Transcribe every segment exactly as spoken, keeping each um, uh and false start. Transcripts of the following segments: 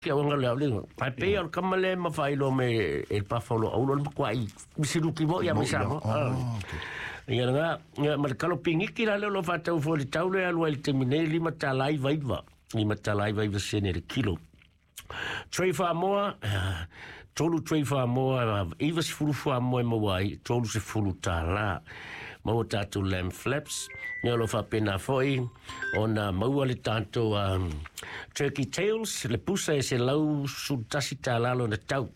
Ke au ngale au le ai pe al kamale ma fai lo me e pa fa lo au lo ma i misiluki mo ia me sa mo. Ia nga ia ma kalo pingiki la le lo fa tau fo le tau le alu le temine lima talai vaiva lima talai vaiva sene le kilo. Tray Whamoa, tolu Tray Whamoa, iwa sefulu Whamoa e maua ai, tolu sefulu tālā. Maua tātou lamb flaps, ia o lo faapena foi ona maua le tatou um, turkey tails, le pusa e selau sefulu tasi tālā lona tau.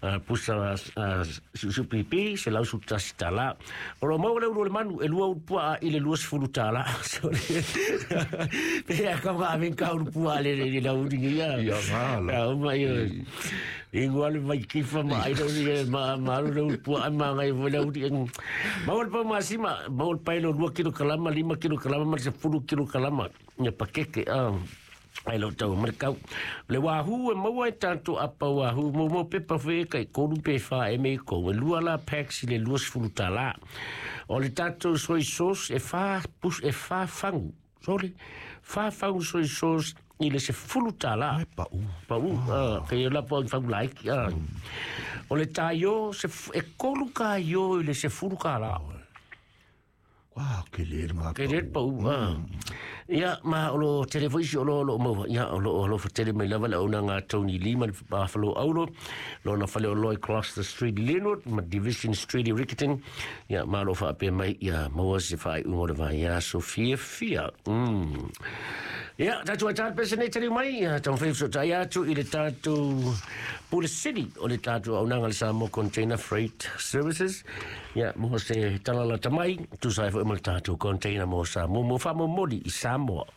Uh, pusa uh, supipi, selau sefulu tasi tālā. O lo maua le ulu o le manu, e lua ulu puaa i le lua sefulu tālā. Pe a ka maa ka ulu puaa le le la uli ia. Ia ngā la. Uma ia. Ingo ale mai kifa ma ai uli ma ma alu le ulu puaa ma ngai fo le uli. Maua le pau masima, maua le paelo lua kilo kalama, lima kilo kalama, ma se fulu kilo kalama. Ia pakeke, ah. Ai lo tau mai kau. Le wahoo e maua e tātou apa wahoo. Mo mo pepa whe kai kolu pe wha e me ko. E lua la packs i le lua sefulu tālā. O le tātou soy sauce e wha, pus, e wha fangu. Sorry. Wha fangu soy sauce i le sefulu tālā. Ai pau. Pau. Ah, kei la pau fangu laiki. Ah. O le tāio se, e kolu ka io i le sefulu kālā. Wa, ke le ngā Ke le pau. Ah. Ia, ma o lo telefoisi o lo lo maua. Ia, o lo o lo fatele mai lava le au ngā Tony Lima le Buffalo Aulo. Lo na fale o Lloyd Cross the Street Linwood, ma Division Street i Riccarton. Ia, ma lo whaapea mai, ia, maua se whaai ungo le vai, ia, Sofia Fia. Mm. Ia, tātou ai tātou pese nei tari mai, ia, tau whai so tai atu i le tātou Pula City, o le tātou au nanga le Samoa Container Freight Services. Ia, mo se talala tamai, tu sai fo ma le tātou container mo Samoa, mo wha mo mori i Samoa.